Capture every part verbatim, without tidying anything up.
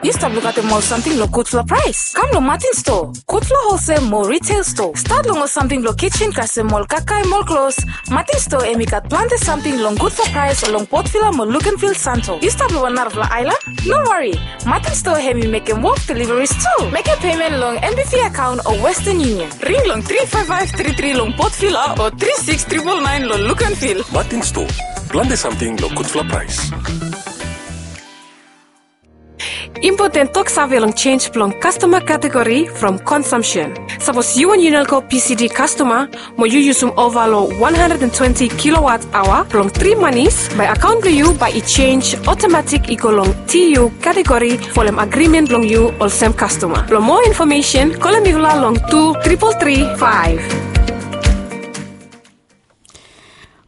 Yu stap lukaotem ol samting long gudfala praes? Kam long Martin Store, gudfala holsel mo retail store. Stat long ol samting blong kitchen kasem ol kakae mo ol klos. Martin Store hemi gat plante samting long gudfala praes long Port Vila mo Luganville, Santo. Yu stap long wan narafala aelan? No wari. Martin Store hemi mekem wok deliveries tu. Mekem payment long M B V account o Western Union. Ring long tri faef faef tri tri long Port Vila o tri siks tripol naen long Luganville. Martin Store, plante samting long gudfala praes. Impoten toksave long jenis blong kastoma kategori from consumption. Sapos yu wan Unelco P C D kastoma mo yu yusum ova long wan handred and twenti kilowatt aoa blong tri manis, bae akaon blong yu bae i jenis otomatik i go long T U kategori folem agrimen blong yu olsem kastoma. Blong moa infomesen, kolem mifala long tu tripol tri faef.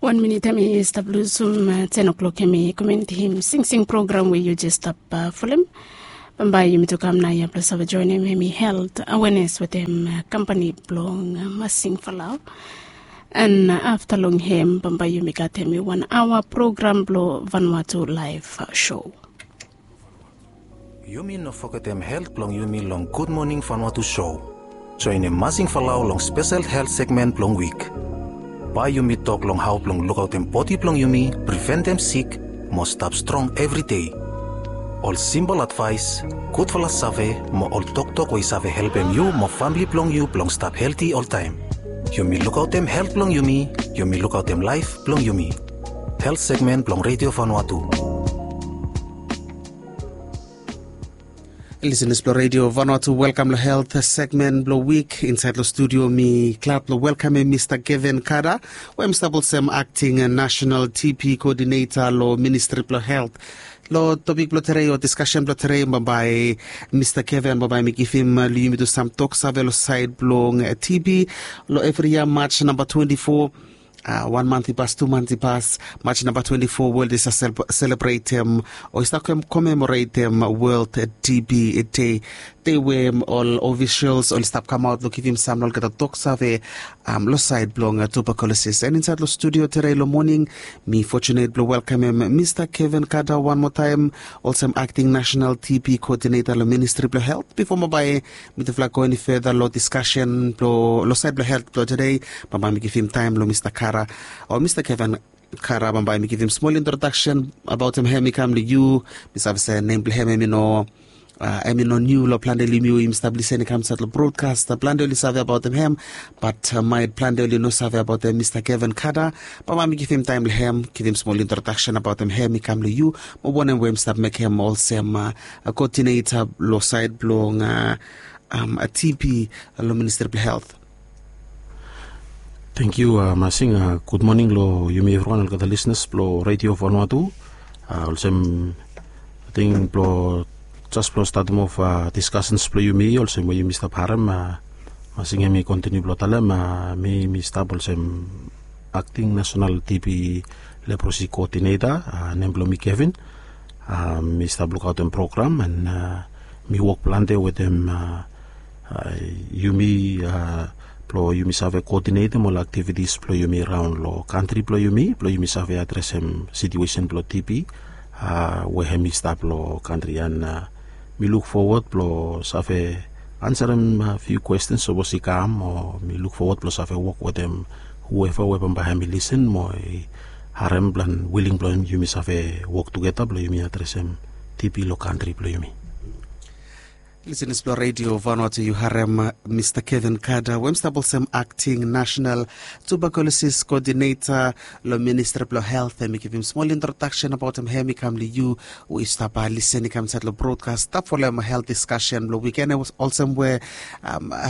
Wan minit hemi stap lusum ten o'clock, hemi komuniti him singsing program we yu jes stap folem. Bambae yumi tu kam naoia blong save joenem hemi helt awenes wetem kampani blong Masing Falau. An afta long hem bambae yumi gat hemi wan aoa program blong Vanuatu Laef Show. Yumi no fogetem helt blong yumi long Gud Moning Vanuatu show. Joenem Masing Falau long spesel helt segmen blong wik. Bae yumi tok long hao blong lukaotem bodi blong yumi, priventem sik, mo stap strong evri dei. Ol simpol advaes, gudfala save, mo ol toktok we i save helpem yu mo famle blong yu blong stap helti oltaem. Yumi lukaotem helt blong yumi, yumi lukaotem laef blong yumi. Helt segmen blong Redio Vanuatu. Lisenas blong Redio Vanuatu, welkam long helt segmen blong wik. Insaed long studio mi glad blong welkamem Mista Kevin Kada, we hem stap olsem akting nasenal T B koodineta long Ministri blong Helt. Long topik blong tedei o diskasen blong tedei, bambae Mista Kevin bambae mi givim long yumi tu sam toksave long saed blong T B. Long evri yia Maj namba twenti fo, wan mant i pas, tu mant i pas, Maj namba twenti fo, wol i stap selebretem o i stap komemoretem World T B Day. Dei we ol ofisels oli stap kamaot long givim sam long olgeta toksave long saed blong tuberkulosis. An insaed long studio tedei long moning mi fotunet blong welkamem Mista Kevin Kada wan moa taem olsem akting nasenal T B koodineta long Ministri blong Helt. Bifo bambae mitufala go eni feda long diskasen blong, long saed blong helt blong tedei, bambae mi givim taem long Mista Kada o Mista Kevin Kada, bambae mi givim smol introdaksen abaotem hem i kam long yu. Mi save se nem blong hem hemi no, hemi no niu long plante long yumi we yumi stap lisen i kam insaed long brodkas. Plante oli save abaotem hem, bat maet plante oli no save abaotem Mista Kevin Kada. Bambae mi givim taem long hem givim smol introdaksen abaotem hem i kam long yu mo wanem we hem stap mekem olsem koodineta long saed blong T B long Ministri blong Helt. Tenkyu Masing. Gud moning long yumi evriwan, olgeta lisenas blong Redio Vanuatu. Olsem ating blong jes blong statem of diskasens blong yumi, olsem we yumi stap harem, Masing hemi kontiniu blong talem, mi mi stap olsem akting nasenal T B leprosi koodineta. Nem blong mi Kevin. Mi stap lukaotem program, an mi wok plante wetem yumi blong yumi save koodinetem ol aktivitis blong yumi raon long kantri blong yumi, blong yumi save adresem situesen blong T B we hemi stap long kantri. An mi luk fowod blong save ansarem fiu kwestens sapos i kam, o mi luk fowod blong save wok wetem hueva we bambae hemi lisen mo i harem plan wiling blong yumi save wok tugeta blong yumi adresem T B long kantri blong yumi. Lisenas blong Redio Vanuatu, yu harem Mista Kevin Kada we hem stap olsem akting nasenal tuberkulosis koodineta long Ministri blong Helt. Hem i givim smol introdaksen abaotem hem i kam long yu we yu stap lisen i kam insaed long brodkas, stap folem helt diskasen blong wiken. Olsem we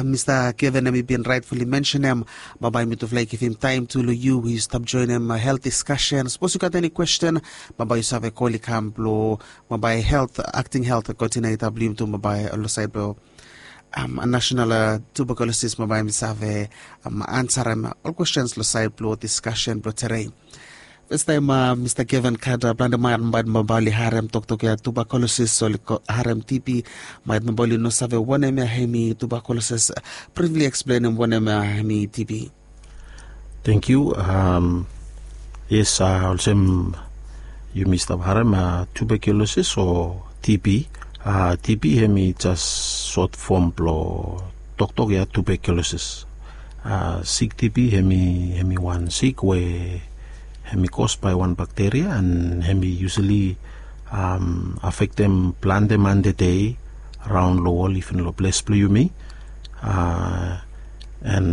Mista Kevin hemi bin raetfuli mensenem, bambae mitufala i givim taem tu long yu we yu stap joenem helt diskasen. Sapos yu gat eni kwesten, bambae yu save kol i kam blong bambae helt, akting helt koodineta blong yumi tu bambae long saed blong nasenal tuberkulosis, bambae hem i save ansarem ol kwestens long saed blong diskasen blong tedei. Fastaem Mista Kevin Kada, plante man maet bambae oli harem toktok ya tuberkulosis, oli harem T B, maet bambae oli no save wanem ya hemi tuberkulosis. Brifli eksplenem wanem ya hemi T B. Tenkyu. Yes, olsem yumi stap harem, tuberkulosis o T B TB hemi jas sot fom blong toktok ya tuberculosis. Sik TB hemi wan sik we hemi kos bae wan bakteria an hemi yusali afektem plante man tede raon long wol, iven long ples blong yumi. An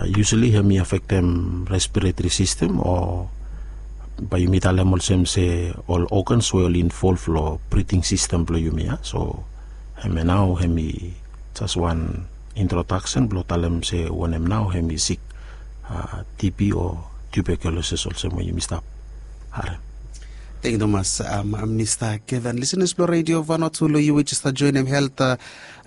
yusali hemi afektem respiretri sistem o bae yumi talem olsem se ol ogans we oli involv long briding sistem blong yumi ya. So hemia nao hemi jas wan introdaksen blong talem se wanem nao hemi sik TB o tuberculosis olsem we yumi stap harem. Tengiu tumas, Mista Kevin. Lisenas blong Redio Vanua tu, long yu we jes stap joenem helt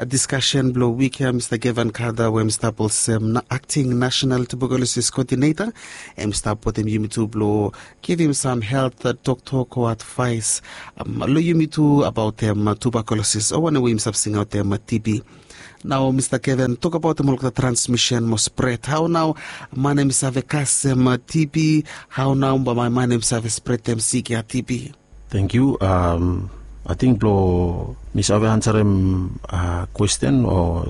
diskasen blong wik ya, Mista Kevin Kada we hem stap olsem akting nasenal tuberkulosis koodineta, hem stap wetem yumi tu blong givim sam helt toktok o advaes long yumi tu abaotem tuberkulosis o wanem we yumi stap singaotem TB. Nao Mista Kevin, tokbaotem olgeta transmisen mo spred. Hao nao man hem i save kasem TB? Hao nao man hem i save spredem sik ya TB? Tengiu. Ating blong mi save ansarem kwesten o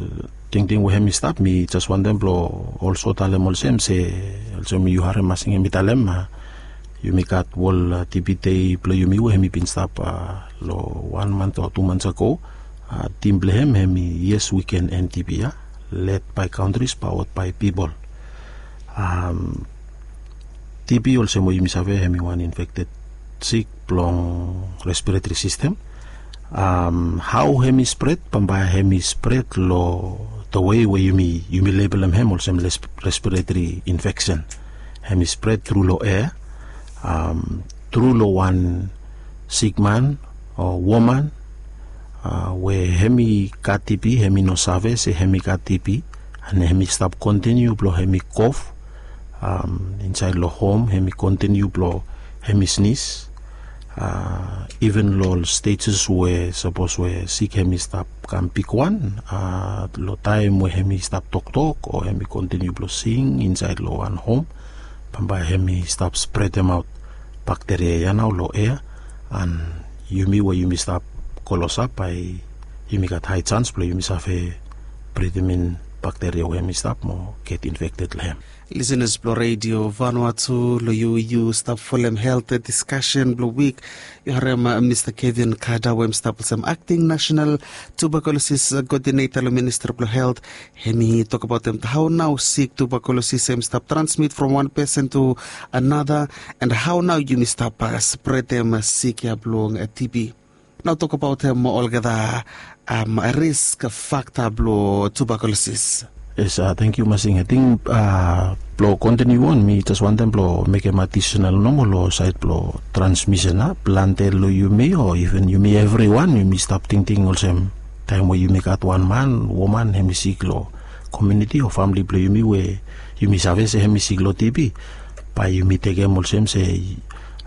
tingting we hem i stap, mi jes wantem blong olso talem olsem se, olsem yu harem masing hem i talem, yumi gat wol TB dei blong yumi we hem i bin stap long wan mant o tu mants ago. Tim blong hem hem i Yes We Can End TB ya, led by countries, powered by people. TB olsem we yumi save hem i wan infekted sik blong respiretri sistem. Hao hem i spred? Bambae hem i spred long the way we yumi, yumi lebelem hem olsem respiretri infeksen. Hem i spred tru long ea, tru long wan sikman o woman we hem i gat TB, hem i no save se hem i gat TB, an hem i stap kontiniu blong hem i kof insaed long hom, hem i kontiniu blong hem i snis. Iven long ol stejes we sapos we sik hem i stap kam bigwan, long taem we hem i stap toktok o hem i kontiniu blong sing insaed long wan hom, bambae hem i stap spredemaot bakteria ya nao long ea, an yumi we yumi stap klosap, bae yumi gat hae jans blong yumi save bridim in bakteria we hem i stap mo get infekted long hem. Lisenas blong Redio Vanua tu, long yu, yu stap folem helt diskasen blong wik, yu harem Mista Kevin Kada we hem stap olsem akting nasenal tuberkulosis koodineta long Ministri blong Helt. Hem i tokbaotem hao nao sik tuberkulosis hem i stap transmit from wan pesen tu another, an hao nao yumi stap spredem sik ya blong TB. Nao tokbaotem olgeta risk fakta blong tuberkulosis. Yes, tengiu masing. Ating blong kontiniu on, mi jes wantem blong mekem adisenal nomo long saed blong transmisen ya. Plante long yumi o iven yumi evriwan yumi stap tingting olsem, taem we yumi gat wan man, woman hem i sik long komuniti o famle blong yumi we yumi save se hem i sik long TB, bae yumi tekem olsem se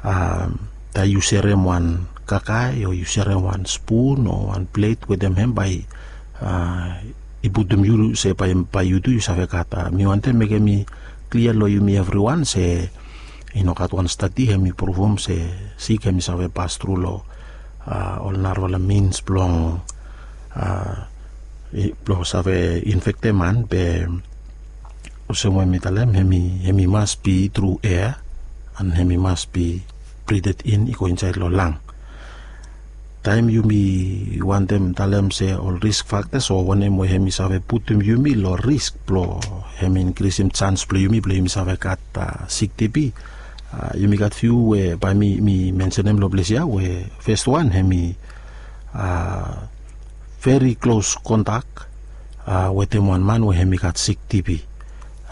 taem yu serem wan kakae o yu serem wan spun o wan plet wetem hem, bae i putum yu se bae yu tu yu save gat. Mi wantem mekem i klia long yumi evriwan se i no gat wan stadi hem i pruvum se sik hem i save pas tru long ol narafala mins blong blong save infektem man, be olsem we mi talem, hem i mas bi tru ea, an hem i mas bi brided in i go insaed long lang. Taem yumi wantem talem se ol risk faktas o wanem we hem i save putum yumi long risk blong hem i inkrisim jans blong yumi blong yumi save gat sik TB, yumi gat fiu we bae mi mensenem long ples ya, we fes wan hem i veri klos kontak wetem wan man we hem i gat sik TB.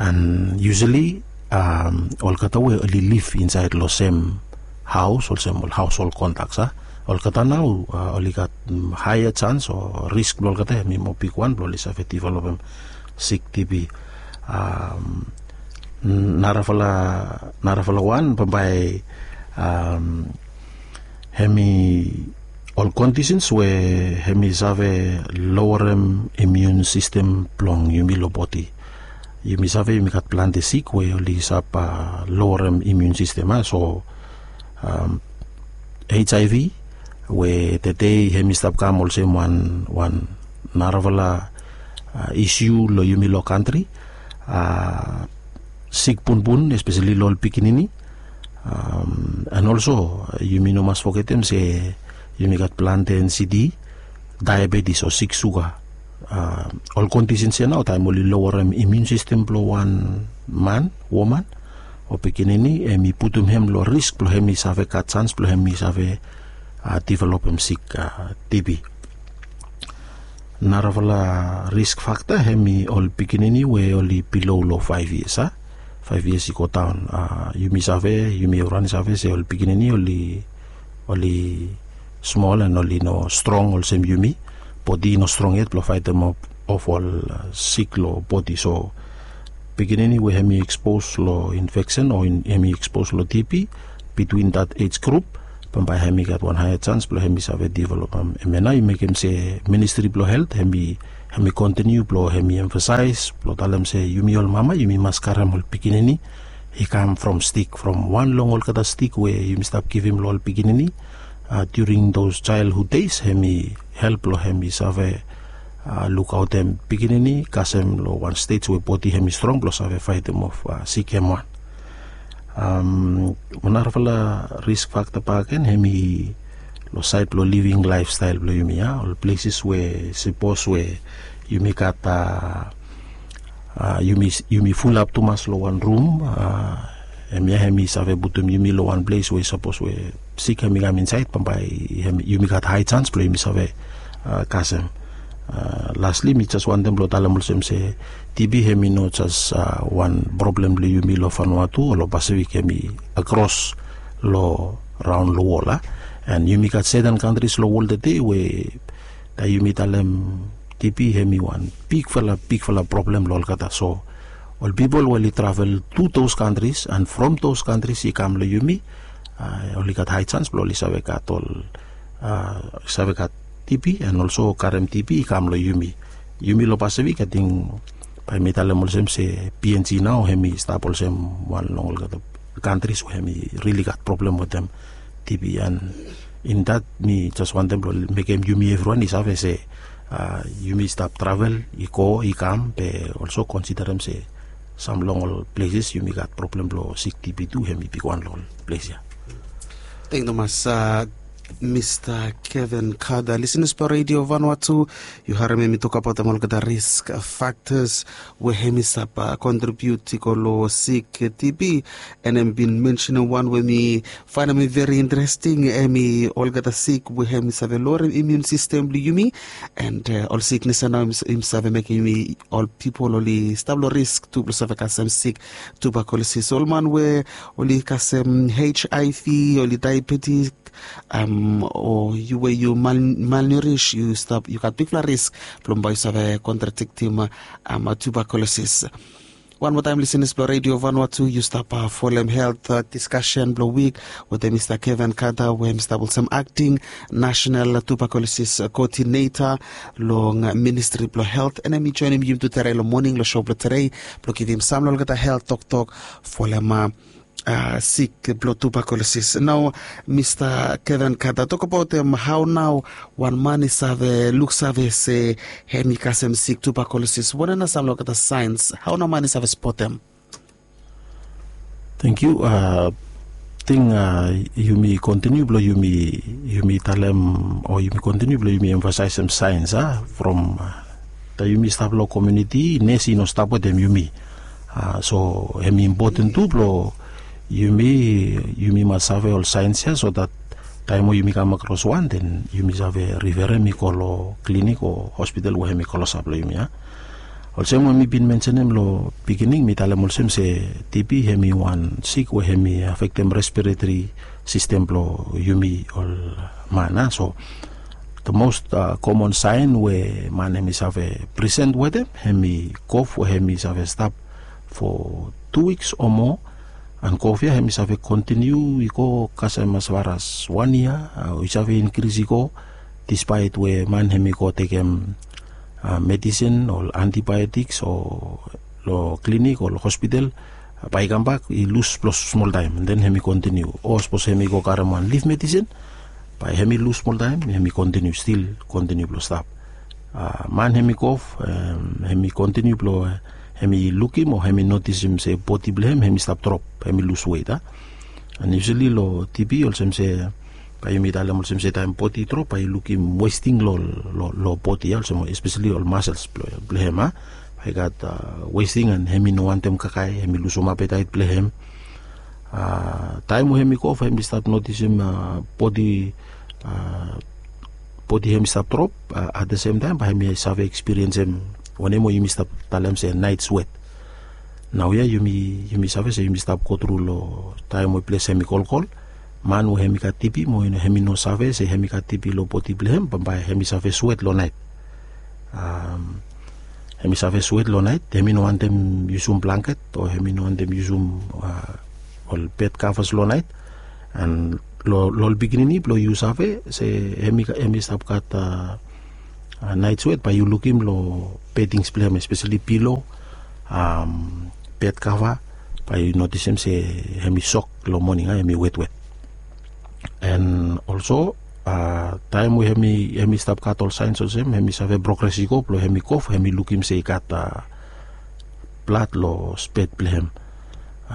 An yusali olgeta we oli liv insaed long sem haos, olsem ol haoshol kontaks, a, olgeta nao oli gat haea jans o risk blong olgeta hem i moa bigwan blong oli save developem sik TB. Narafala, narafala wan bambae hem i ol kondisens we hem i save lowerem imiun sistem blong yumi long bodi. Yumi save yumi gat plante sik we oli save lowerem imiun sistem, a, so HIV, we tedei hem i stap kam olsem wan wan narafala isiu long yumi long kantri, a sik punpun espeseli long ol pikinini. An olso yumi no mas fogetem se yumi gat plante ensidi, daebetis o sik suga. Ol kondisens ya nao taem oli lowerem imiun sistem blong wan man, woman o pikinini, hem i putum hem long risk blong hem i save gat sans blong hem i save divelopem sik tibi. Narafala risk fakta hem i ol pikinini we oli bilo long faef yias a faef yias i go daon. Yumi save, yumi evriwan i save se ol pikinini oli oli smol an oli no strong olsem yumi. Bodi i no strong yet blong faetem of ol sik long bodi. So pikinini we hem i ekspos long infeksen o hem i ekspos long tibi, bitwin dat ej grup bambae hem i gat wan haea sans blong hem i save divelopem. Hemia nao i mekem se ministri blong helt hem i hem i kontiniu blong hem i emfasaes blong talem se yumi ol mama yumi mas karem ol pikinini i kam from stik, from wan long olgeta stik we yumi stap givim long ol pikinini during those childhood days, hem i help long hem i save lukaotem pikinini kasem long wan stej we bodi hem i strong blong save faetem of sik hem wan. Narafala risk fakta bakegen hem i long saed blong living laefstael blong yumi ya, ol pleses we sapos we yumi gat a yumi fulap tumas long wan rum. Hemia hem i save putum yumi long wan ples we sapos we sik hem i kam insaed bambae yumi gat hae sans blong yumi save kasem. Lasli mi jes wantem blong talem olsem se tibi hem i no jes wan problem blong yumi long Vanuatu o long Pasifik, hem i akros long raon long wol a. An yumi gat seten kantris long wol tedei we taem yumi talem tibi hem i wan bigfala bigfala problem long olgeta. So ol pipol we oli travel tu those kantris an from those kantris i kam long yumi, oli gat hae sans blong oli save gat ol save gat tibi an olso karem tibi i kam long yumi. Yumi long Pasifik ating bae mi talem olsem se PNG nao hem i stap olsem wan long olgeta kantris we hem i rili gat problem wetem tibi. An in dat mi jes wantem blong mekem yumi evriwan i save se yumi stap travel i go i kam be olso konsiderem se sam long ol pleses yumi gat problem blong sik tibi tu hem i bigwan long ol ples ya. Teng tumas. Mista Kevin Kada, lisenas blong Redio Vanuatu, yu harem hem i tokbaot olgeta risk faktas we hem i stap kontribiut i go long sik tibi. An hem bin mensenem wan we mi faenem i veri interesting, hem i olgeta sik we hem i save lowerem imiun sistem blong yumi. An ol siknes ya nao hem i save mekem yumi ol pipol oli stap long risk tu blong save kasem sik tubakulosis. Ol man we oli kasem HIV, oli daebetik, o yu we yu malnurish, yu stap yu gat bigfala risk blong bae yu save kontraktim tubakulosis. Wan moa taem lisenas blong Redio Vanuatu, yu stap folem helt diskasen blong wik wetem Mista Kevin Kada we hem i stap olsem akting nasenal tubakulosis koodineta long ministri blong helt, an hem i joenem yumi tu tedei long moning long sou blong tedei blong givim sam long olgeta helt toktok folem sik blong tubakulosis. Nao Mista Kevin Kada, tokbaot hao nao wan man i save luksave se hem i kasem sik tubakulosis, wanem nao sam long olgeta saens, hao nao man i save spotem? Teng yu. Ating yumi kontiniu blong yumi talem o yumi kontiniu blong yumi emfasaesem saens a from taem yumi stap long komuniti, nes i no stap wetem yumi. So hem i impoten tu blong yumi yumi mas save ol saens ya so dat taem we yumi kam akros wan den yumi save riferem i go long klinik o hospital we hem i klosap long yumi ya. Olsem we mi bin mensenem long pikinini, mi talem olsem se TB hem i wan sik we hem i afektem respiretori sistem blong yumi ol man a. So the most komon saen we man hem i save presen wetem hem i kof we hem i save stap fo tu wiks o moa. An kof ya hem i save kontiniu i go kasem as far as wan yia, o i save inkris i go dispaet we man hem i go tekem medisin o antibiotiks o long klinik o long hospital, bae i kambak i lus blong smoltaem, den hem i kontiniu. O sapos hem i go karem wan lif medisin, Bae hem i lus smoltaem, hem i kontiniu, stil kontiniu blong stap. Man hem i kof, hem i kontiniu blong hem i lukim o hem i notisim se bodi blong hem hem i stap drop, hem i lus wet a. An yusali long tibi olsem se, bae yumi talem olsem se taem bodi i drop bae yu lukim westing long bodi ya, olsem espesali ol masels blong hem a, bae i gat westing an hem i no wantem kakae, hem i lusum apetaet blong hem. Taem we hem i kof hem i stap notisim bodi bodi hem i stap drop, at the sem taem bae hem i save ekspiriensem wanem we yumi stap talem se naet swet. Naoia yumi save se yumi stap gotru long taem we ples hem i kolkol. Man we hem i gat tibi mo hem i no save se hem i gat tibi long bodi blong hem, bambae hem i save swet long naet. Hem i save swet long naet, hem i no wantem yusum blangket o hem i no wantem yusum ol bed kavas long naet. An long ol pikinini blong yu save se hem i stap gat naet swet, bae yu lukim long bedings blong hem, espesali pilo, bed kava, bae yu notisim se hem i sok long moning a, hem i wetwet. An olso taem we hem i stap gat ol saens olsem, hem i save progres i go blong hem i kof, hem i lukim se i gat blad long spet blong hem.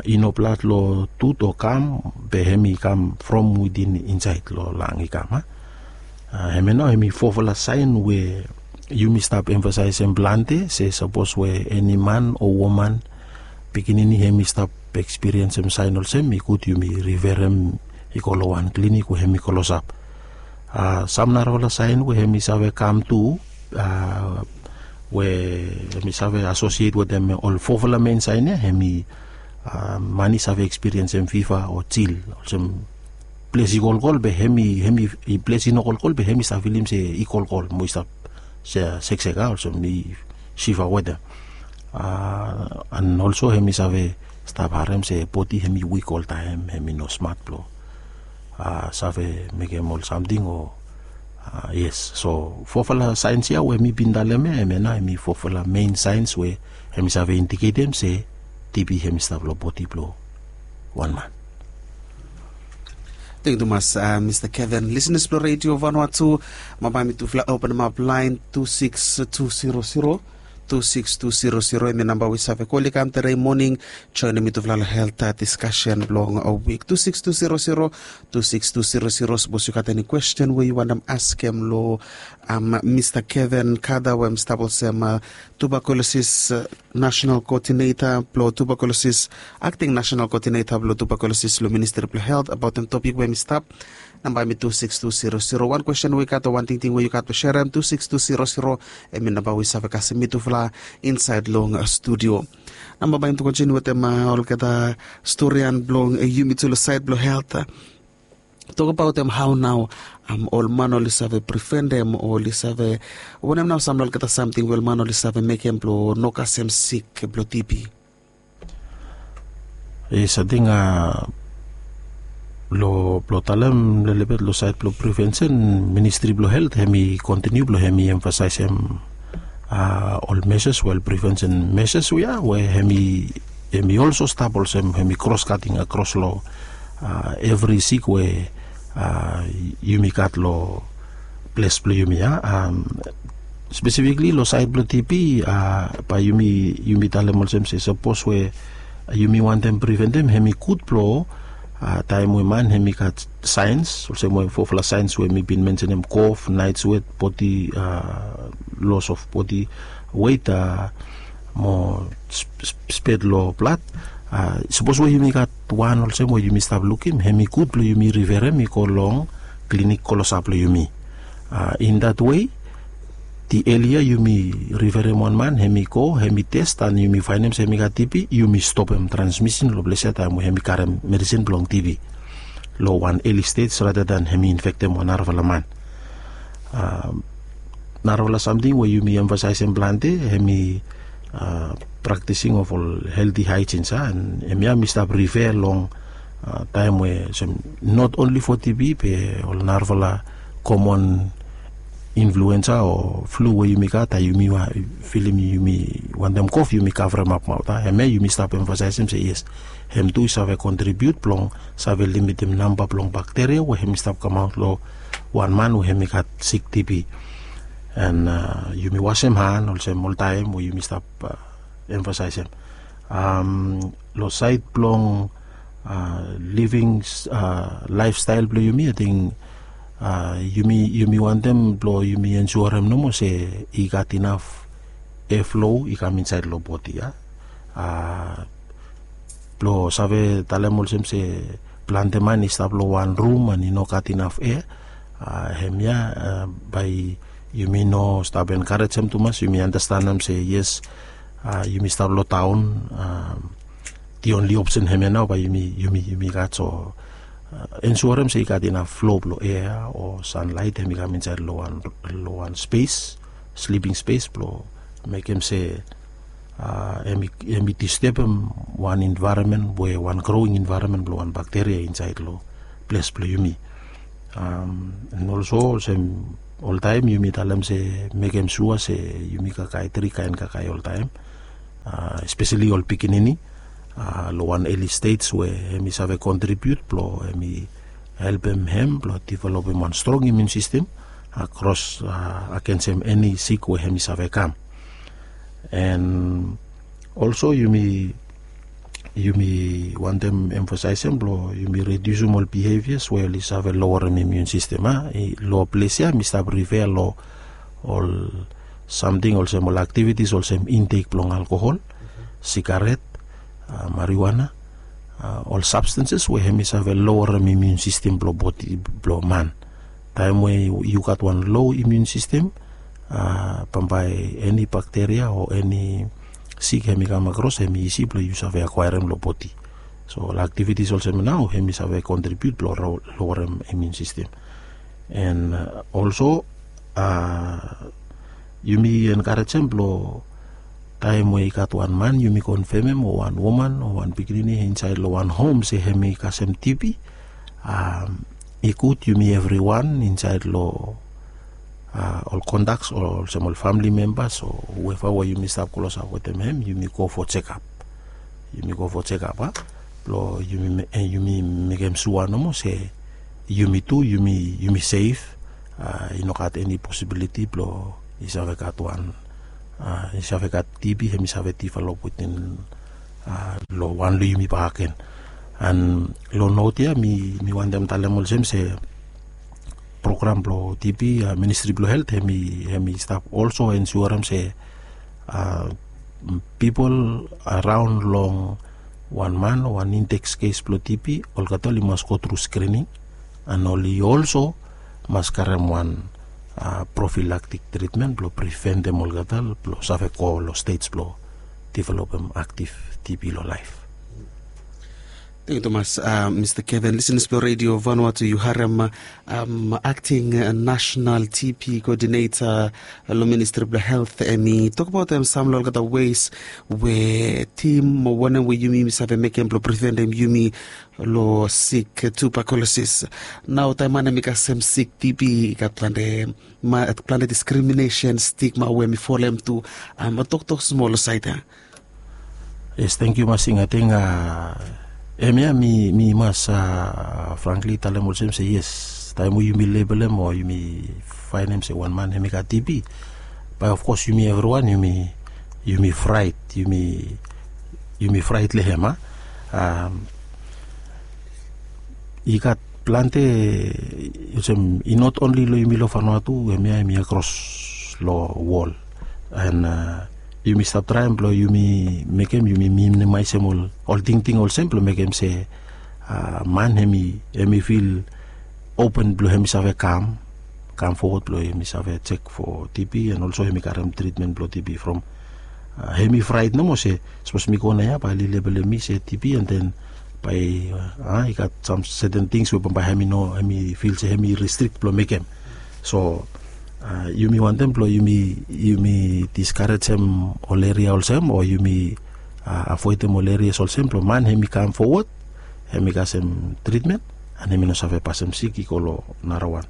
I no blad long tut o kam, be hem i kam from witin insaed long lang i kam a. Hemia nao hem i fofala saen we yumi stap emfasaesem plante se sapos we eni man o woman, pikinini hem i stap ekspiriensem saen olsem, i gud yumi riferem i go long wan klinik we hem i klosap. Sam narafala saen we hem i save kam tu, we hem i save asosiet wetem ol fofala mein saen ya, hem i man i save ekspiriensem fiva o jil, olsem ples i kolkol be hem i ples i no kolkol be hem i stap filim se i kolkol mo i stap seksek a, olsem i fiva wetem. An olso hem i save stap harem se bodi hem i wik oltaem, hem i no smat blong save mekem ol samting o. Yes, so fofala saens ya we mi bin talem ya, hemia nao hem i fofala mein saens we hem i save indiketem se tibi hem i stap long bodi blong wan man. Teng tumas, Mista Kevin. Lisenas blong Redio Vanua tu, bambae mitufala openemap laen tu sikis tu siro siro, tu sikis tu siro siro, hemi namba we yu save kol i kam tede moning, joenem mitufala long helt diskasen blong wik. Tu sikis tu siro siro, tu sikis tu siro siro. Sapos yu gat eni kwesten we yu wantem askem long Mista Kevin Kada we hem i stap olsem tuberkulosis nasenal koodineta blong tuberkulosis, akting nasenal koodineta blong tuberkulosis long Ministri blong Helt, abaotem topik we hem i stap, namba hemi tu sikis tu siro siro. Wan kwesten we yu gat o wan tingting we yu gat blong serem, tu sikis tu siro siro, hemi namba we yu save kasem mitufala insaed long studio. Namba bae yumi tu kontiniu wetem olgeta storian blong yumi tu long saed blong helt. Tokbaotem hao nao ol man oli save priventem o oli save, wanem nao sam long olgeta samting we ol man oli save mekem blong no kasem sik blong tibi? Yes, ating long blong talem lelebet long saed blong privensen, Ministri blong Helt hemi kontiniu blong hemi emfasaesem ol meses, wel, privensen meses we ya we hemi olso stap olsem hemi kros kating akros long evri sik we yumi gat long ples blong yumi ya. Spesifikli long saed blong tibi, bae yumi talem olsem se sapos we yumi wantem priventem, hemi gud blong taem we man hemi gat saens olsem we fofala saens we mi bin mensenem, kof, naet swet, bodi, los of bodi wet, mo spet long blad. Sapos we yumi gat wan olsem we yumi stap lukim, hemi gud blong yumi riferem i go long klinik klosap blong yumi. In dat wei, di elia yumi riferem wan man hemi go hemi tes an yumi faenem se hemi gat tibi, yumi stopem transmisen long ples ya taem we hemi karem medisin blong tibi long wan eli stej rata dan hemi infektem wan narafala man. Narafala samting we yumi emfasaesem plante hemi praktising of ol helti haejins, a, an hemia mi stap rife long taem we olsem not onli fo tibi be ol narafala komon influensa o flu we yumi gat, a, yumi filim yumi wantem kof, yumi kavremap maot, a. Hemia yumi stap emfasaesem se yes, hem tu i save kontribiut blong save limitim namba blong bakteria we hemi stap kamaot long wan man we hem i gat sik tibi. And yumi wasem han olsem oltaem we yumi stap emfasaesem. Long saed blong living laefstael blong yumi, ating yumi wantem blong yumi ensuarem nomo se i gat inaf eflo i kam insaed long bodi ya. Blong save talem olsem se plante man i stap long wan rum and i no gat inaf ea. Hemia bae yumi no stap enkarejem tumas, yumi anastenem se yes, yumi stap long taon. Di onli opsen hemia nao bae yumi gat so ensuarem se i gat inaf flo blong ea o sanlaet hem i kam insaed long wan spes, sliping spes blong mekem se hem i distebem wan envaeronmen we wan growing envaeronmen blong wan bakteria insaed long ples blong yumi. And olso olsem oltaem yumi talem se mekem sua se yumi kakae tri kaen kakae oltaem, espeseli ol pikinini long wan eli stej we hem i save kontribiut blong hem i helpem hem blong developem wan strong imun sistem akros agensem eni sik we hem i save kam. And olso yumi yumi wantem emfasaesem blong yumi ridiusim ol bihevias we oli save lowerem imun sistem a. Long ples ya mi stap rifea long ol samting olsem ol aktivitis olsem intek blong alkohol, sigaret, mariwana, ol sabstenses we hem i save lowerem imun sistem blong bodi blong man. Taem we yu gat wan lo imun sistem, bambae eni bakteria o eni sik hem i kam akros hem i isi blong yu save akwaerem long bodi. So ol aktivitis olsem nao hem i save kontribiut blong lowerem imun sistem. And olso yumi enkarejem blong taem we i gat wan man yumi konfemem o wan woman o wan pikinini insaed long wan hom se hem i kasem tibi, i gud yumi evriwan insaed long ol kontaks olsem ol famili membas o whoever we yumi stap klosap wetem hem yumi go fo jekap. Yumi go fo jekap a blong yumi mekem sua nomo se yumi tu yumi sef. I no gat eni posibiliti blong i save gat wan i save gat tibi hem i save develop wetem long wan long yumi bakegen. And long not ya mi wantem talem olsem se program blong tibi, ministri blong helt hem i stap olso ensuarem se pipol araon long wan man o wan intek kes blong tibi olgeta oli mas go tru skrining. And oli olso mas karem wan profilaktik tritmen blong priventem olgeta blong save go long stej blong developem aktiv tibi long laef. Tengkiu tumas. Mista Kevin, lisenas blong redio Vanuatu, yu harem akting nasenal tibi koodineta long ministri blong helt hem i tokbaotem sam long olgeta wes we tim o wanem we yumi save mekem blong priventem yumi long sik tubakolosis. Nao taem man hem i kasem sik tibi i gat plante diskriminesen stigma we hem i folem tu. Toktok smol long saed ya. Yes, tengkiu masing. Ating hemia mi mas frankli talem olsem se yes, taem we yumi lebelem o yumi faenem se wan man hem i gat tibi, bae ofkos yumi evriwan yumi fraet, yumi fraet long hem a. I gat plante olsem i not onli long yumi long Vanuatu, hemia hem i akros long wol. And yumi stap traem blong yumi mekem yumi minimaesem ol tingting olsem blong mekem se man hem i fil open blong hem i save kam kam fowod blong hem i save jek fo tibi and olso hem i karem tritmen blong tibi from hem i fraet nomo se sapos mi go naoia bae oli lebelem mi se tibi and then bae i gat sam seten tings we bambae hem i no hem i fil se hem i ristrik blong mekem. So yumi wantem blong yumi diskarejem ol eria olsem o yumi avoedem ol erias olsem blong man hem i kam fowod hem i kasem tritmen and hem i no save pasem sik i go long narawan.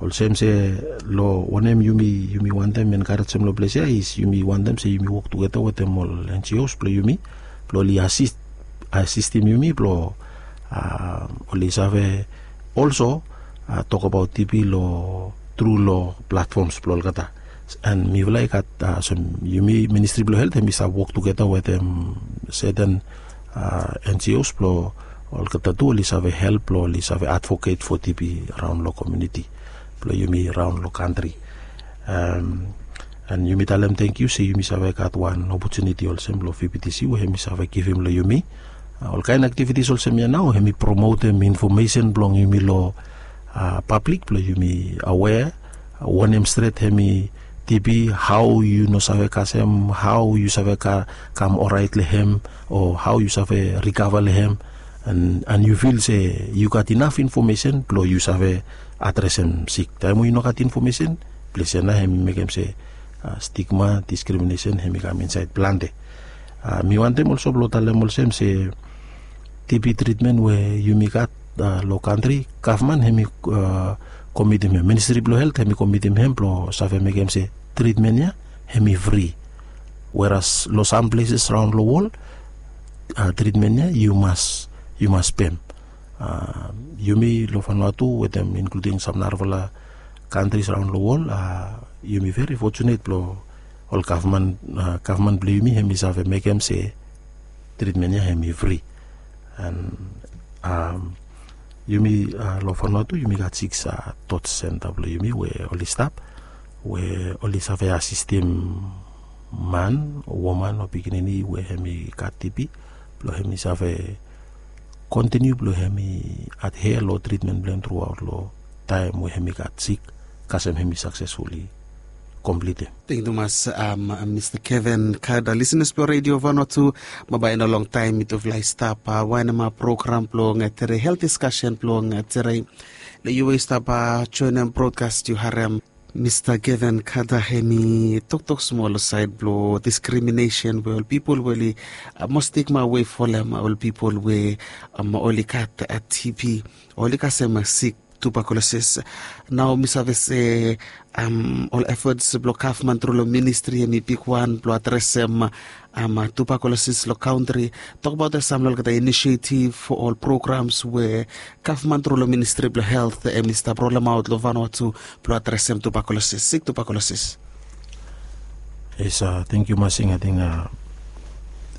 Olsem se long wanem yumi wantem enkarejem long ples ya is yumi wantem se yumi wok tugeta wetem ol NGOs blong yumi blong oli asistem yumi blong oli save olso tokbaot tibi long tru long platfoms blong olgeta. An mifala i gat olsem yumi ministri blong helt em i save wok tugeta wetem seten enjios blong olgeta tu oli save help blong oli save advoket fo tibi raon long komiuniti blong yumi raon long kantri. An yumi talem tengkiu se yumi save gat wan opotuniti olsem long vptc we em i save givim long yumi olkaen aktivitis olsem ya nao em i promotem infomesen blong yumi long pablik blong yumi awea wanem stret em i tibi, hao yu no save kasem, hao yu save kam orait long em, o hao yu save rikava long em. An yu fil se yu gat inaf infomesen blong yu save adresem sik taem we yu no gat infomesen. Ples ya nao em i mekem se stigma, diskriminesen em i kam insaed plante. Mi wantem olso blong talem olsem se tibi tritmen we yumi gat long kantri, gavman em i komitim hem, ministri blong helt em i komitim hem blong save mekem se tritmen ya em i fri. Weras long sam pleses raon long wol tritmen ya yu mas yu mas pem. Yumi long fanua tu wetem inkluding sam narafala kantris raon long wol, yumi veri fotunet blong ol gavman gavman blong yumi em i save mekem se tritmen ya em i fri. An yumi long fanua tu yumi gat siks tot senta blong yumi we oli stap we oli save asistim man o woman o pikinini we em i gat tibi blong em i save kontiniu blong em i adhea long tritmen blong em truaot long taem we em i gat sik kasem em i saksesfuli komplitim. Tengkiu tumas mista keven kada, lisenas blong redio vanua tu. Bambae i no longtaem mitufala i stap waenema program blong tere helt diskasen blong tere long yu we i stap joenem brodkas yu harem. Mista keven kada em i toktok smol long saed blong diskriminesen we ol pipol we oli mos stigma we folem ol pipol we oli gat tibi, oli kasem sik tubakulosis. Nao mi save se ol efets blong gavman tru long ministri em i bigwan blong adresem tubakulosis long kantri. Tokbaot sam long olgeta inisietiv o ol programs we gavman tru long ministri blong helt em i stap rolemaot long vanua tu blong adresem tubakulosis, sik tubakulosis. Yes, tengkiu masing. Ating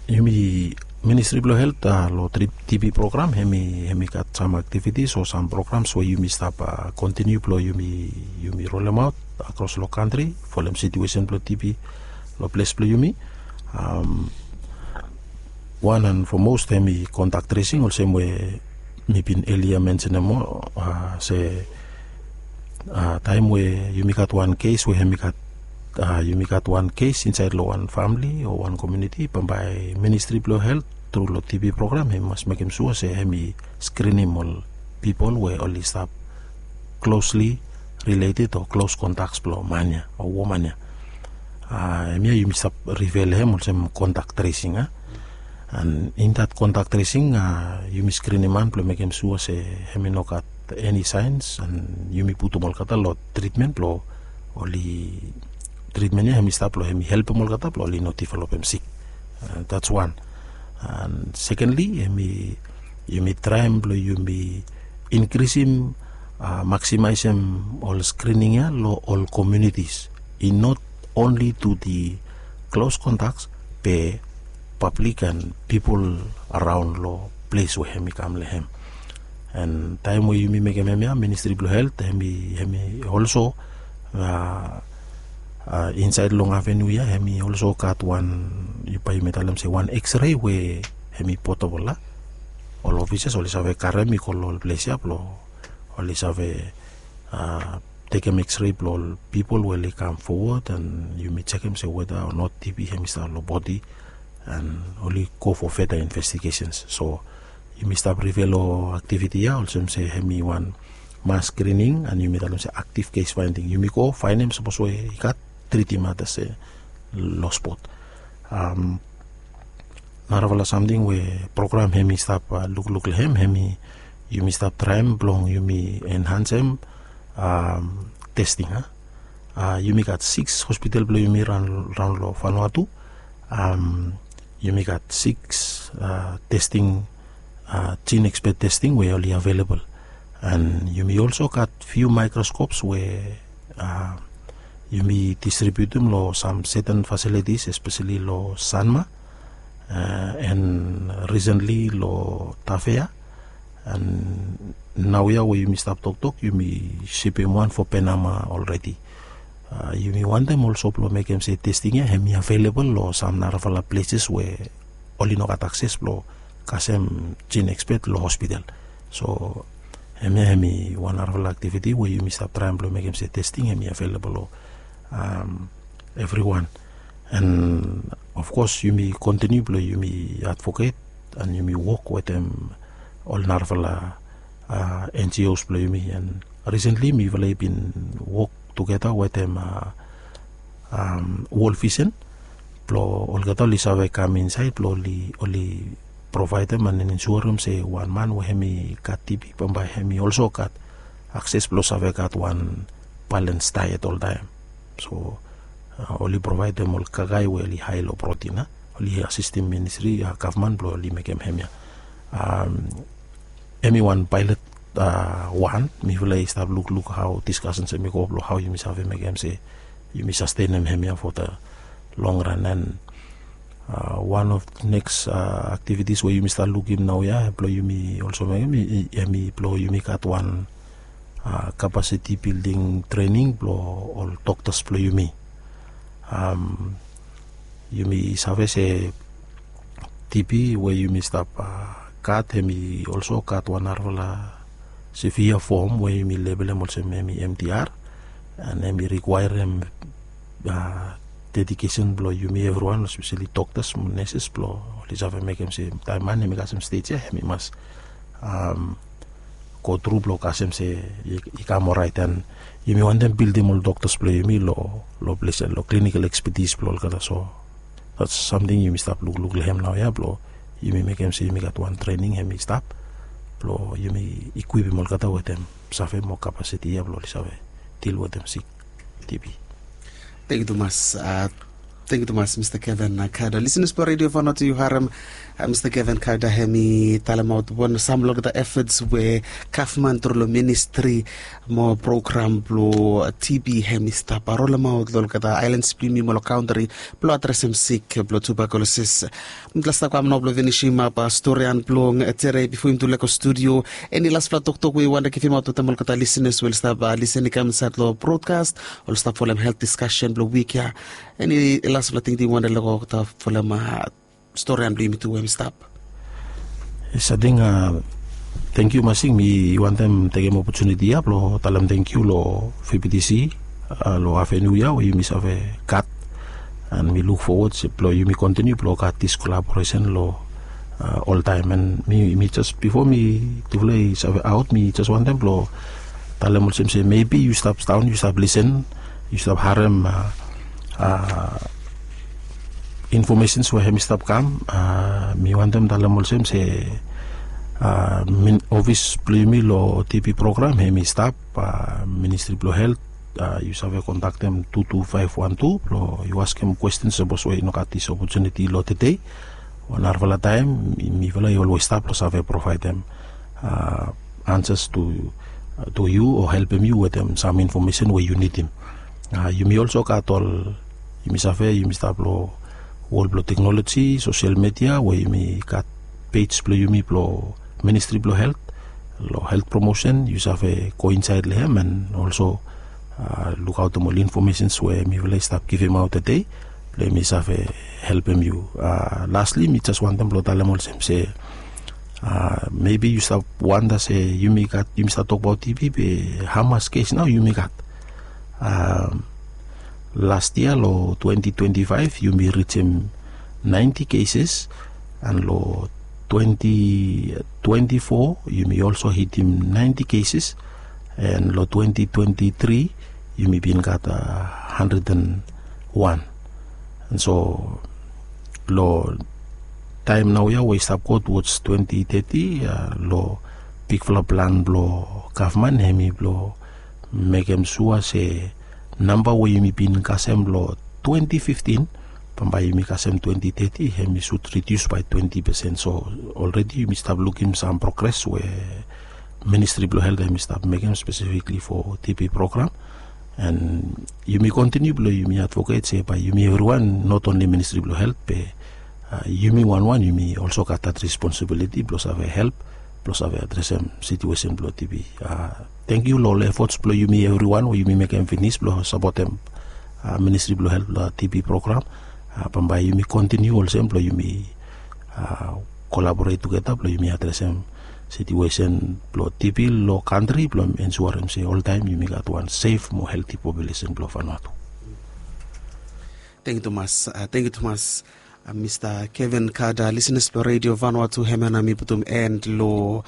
yumi ministri blong helt long tibi program em i gat sam aktivitis o sam programs we yumi stap kontiniu blong yumi rolemaot akros long kantri folem situesen blong tibi long ples blong yumi. Wan an fomos em i kontak tresing olsem we mi bin elia mensenem moa se taem we yumi gat wan kes we em i gat yumi gat wan kes insaed long wan famili o wan komiuniti bambae ministri blong helt tru long tibi program em i mas mekem sua se em i skrinim ol pipol we oli stap klosli rileted o klos kontaks blong man ya o woman ya. Em ya yumi stap rifea long em olsem kontak tresing a an in dat kontak tresing yumi skrinim man blong mekem sua se em i no gat eni saens an yumi putum olgeta long tritmen blong oli tritmen ya em i stap long em i helpem olgeta blong oli no developem sik. Dats wan. An sekenli em i yumi traem blong yumi inkrisim maksimaesem ol skrining ya long ol komiunitis i not onli tu di klos kontaks be pablik an pipol araon long ples we em i kam long em. An taem we yumi mekem em ya ministri blong helt em i olso insaed long avenu ya em i olso gat wan bae yumi talem se wan eksrei we em i potobol a ol ofisas oli save karem i go long ol ples ya blong oli save tekem eksrei blong ol pipol we oli kam fowod an yumi jekem se weda o not tibi em i stap long bodi an oli go fo feda investigesens. So yumi stap rifea long aktiviti ya olsem se em i wan mas skrining an yumi talem se aktiv kes faending yumi go faenem sapos we i gat tritim atas se long spot. Narafala samting we program em i stap lukluk long em em i yumi stap traem blong yumi enhansem testing a yumi gat siks hospital blong yumi raon long fanua tu. Yumi gat siks testing, jin ekspet testing we oli avelabel. And yumi also gat few microscopes we uh, yumi distributim long some certain facilities, especially long Sanma, uh, and recently long Tafea. And naoia we yumi stap toktok, yumi sipim wan for Penama already. Uh, yumi wantem also blong mekem se testing ia hemi available long some narafala places we oli no gat akses blong kasem gene expert long hospital. So hemia hemi wan narafala activity we yumi stap traem blong mekem se testing hemi available long um, everyone. And of course yumi continue blong yumi advocate and yumi wok wetem ol narafala uh, N G Os blong yumi. And recently mifala i bin wok tugeta wetem uh, um, World Vision blong olgeta oli save kam insaed blong oli, oli provaedem and insurem se wan man we hemi gat T B bambae hemi also gat akses blong save gat wan balance diet oltaem. So uh, oli provaedem ol kakae we oli hae long protein, uh, oli asistim ministri, uh, gavman blong oli mekem hemia. Um, hemi wan pilot uh, wan, mifala i stap lukluk hao discussions hemi go blong hao yumi save mekem se yumi sustenem hemia for the long run. And uh, one of the next uh, activities we yumi stap lukim naoia blong yumi also mekem, hemi blong yumi gat wan uh, capacity building training blong ol doctors blong yumi. Um, yumi save se T B we yumi stap uh, gat, hemi also gat wan narafala severe form we yumi labelem olsem hemi M D R. And hemi requirem uh, dedication blong yumi evriwan, especially doctors mo nurses, blong oli save mekem se taem man hemi kasem stage ia hemi mas um, go tru blong kasem se i, i kam orait. And yumi wantem bildim ol doctors blong yumi long, long ples ia, long clinical expertise blong olgeta. So that's something yumi stap lukluk long hem naoia blong yumi mekem se yumi gat wan training hemi stap blong yumi equipim olgeta wetem save mo capacity ia blong oli save deal wetem sik T B. Thank you tumas. Uh, thank you tumas, Mr. Kevin uh, Kada. Listeners blong Radio Vanuatu, yu harem uh, Mr. Kevin Kada hemi talemaot wan sam long olgeta efforts we gavman tru long ministri mo program blong uh, T B hemi stap rolemaot long olgeta aelan blong yumi mo long kantri blong adresem sik blong tuberculosis. Mitla stap kam nao blong finisimap storian blong tere bifo yumi tu lego studio. Eni laspela toktok we yu wanta givimaot wetem olgeta lisenas we oli stap lisen i kam insaet long brodkas, oli stap folem helt diskasen blong wik ya? Eni laspela tingting yu wanta lego olgeta folem storian blong yumi tu we mi stap? Yes, ating tengkiu masing. Mi wantem tekem opotuniti ya blong talem tengkiu long V B T C long afenua ya we yumi save gat. And mi luk fowod blong yumi kontiniu blong gat dis kolaboresen long oltaem. And mi jes bifo mi tufala i save aot, mi jes wantem blong talem olsem se mebi yu stap daon, yu stap lisen, yu stap harem infomesens we hem i stap kam. Mi wantem talem olsem se ofis blong yumi long T B program hem i stap, Ministri blong Helt, yu save kontaktem tu tu faef wan tu blong yu askem kwestens sapos we i no gat dis opotuniti long tede. Wan narafala taem mifala i olwes stap long save provaedem ansas tu yu o helpem yu wetem sam infomesen we yu nidim. Yumi olso gat ol, yumi save yumi stap long wol blong teknoloji, sosel media we yumi gat pej blong yumi blong Ministri blong Helt, long helt promosen. Yu save go insaed long hem and olso lukaotem ol infomesens we mifala i stap givimaot tede blong yumi save helpem yu. Lasli mi jes wantem blong talem olsem se mebi yu stap wanda se yumi gat, yumi stap tokbaot T B be hamas kes nao yumi gat? Las yia long twenti twenti faef yumi rijim naenti keses, and long twenti twenti fo yumi olso hitim naenti keses, and long twenti twenti tri yumi bin gat handred and wan. And so long taem naoia we i stap go towards twenti teti, long bigfala plan blong gavman hem i blong mekem sua se namba we yumi bin kasem long twenti fiftin bambae yumi kasem twenti teti hem i sud ridius bae twenti pesen. So olredi yumi stap lukim sam progres we Ministri blong Helt hemi stap mekem spesifikli fo TB program. And yumi kontiniu blong yumi advoket se bae yumi evriwan, not onli Ministri blong Helt be yumi wanwan yumi olso gat dat responsibiliti blong save help blong save adresem situesen blong TB. Tangkiu long ol efots blong yumi evriwan we yumi mekem finis blong sapotem Ministri blong Helt long TB program. Bambae yumi kontiniu olsem blong yumi kolaboret tugeta blong yumi adresem situesen blong TB long kantri blong ensuarem se oltaem yumi gat wan sef mo helti populesen blong Vanuatu. Tangkiu tumas, tangkiu tumas Mista Kevin Kada. Lisenas blong Redio Vanuatu, hemia nao mi putum en long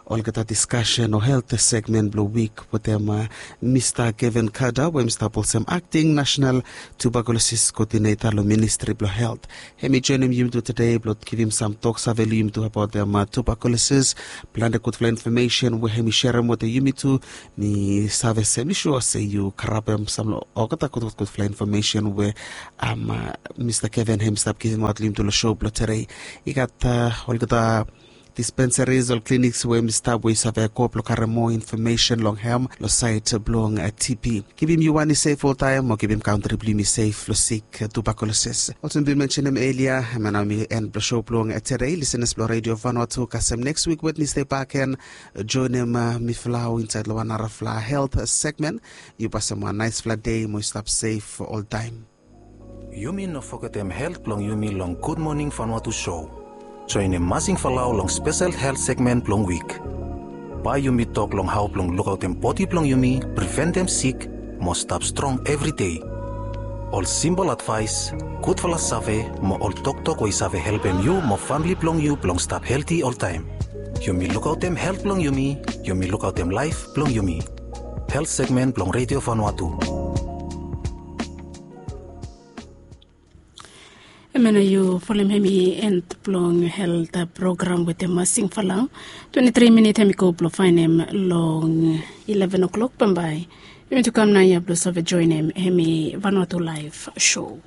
olgeta diskasen o helt segmen blong wik wetem Mista Kevin Kada we mi stap olsem akting nasenal tubakulosis koodineta long Ministri blong Helt. Hemi joenem yumitu tede blong givim sam toksave long yumitu abaotem tubakulosis. Plante gudfala infomesen we hemi serem wetem yumitu. Mi save se mi sua se yu karapem sam long olgeta gudgudfala infomesen we Mista Kevin hemi stap givimaot long yumitu long sou blong tede. I gat olgeta dispensaris o kliniks we hemi stap we yu save go blong karem moa infomesen long hem long saed blong TB. Kipim yu wan i sef oltaem mo kipim kantri blong yumi sef long sik tubakulosis. Olsem mi bin mensenem elia, hemia nao mi en blong sou blong tede. Lisenas blong Redio Vanuatu, kasem neks wik Wednesde bakegen, joenem mifala insaed long wan narafala helt segmen. Yu pasem wan naesfala dei mo yu stap sef oltaem. Yumi no fogetem helt blong yumi long Gudmoning Vanuatu sou. Joenem Masing Falau long spesel helt segmen blong wik. Bae yumi tok long hao blong lukaotem bodi blong yumi, priventem sik mo stap strong evri dei. Ol simpol advaes, gudfala save mo ol toktok we i save helpem yu mo famle blong yu blong stap helti oltaem. Yumi lukaotem helt blong yumi, yumi lukaotem laef blong yumi. Helt segmen blong Redio Vanuatu. Hemia nao yu folem hemi en blong helt program wetem Masing Falau. Twenti tri minit hemi go blong faenem long ileven o'clock bambae. Yumitu kam naoia blong save joenem hemi Vanuatu Laef Sou.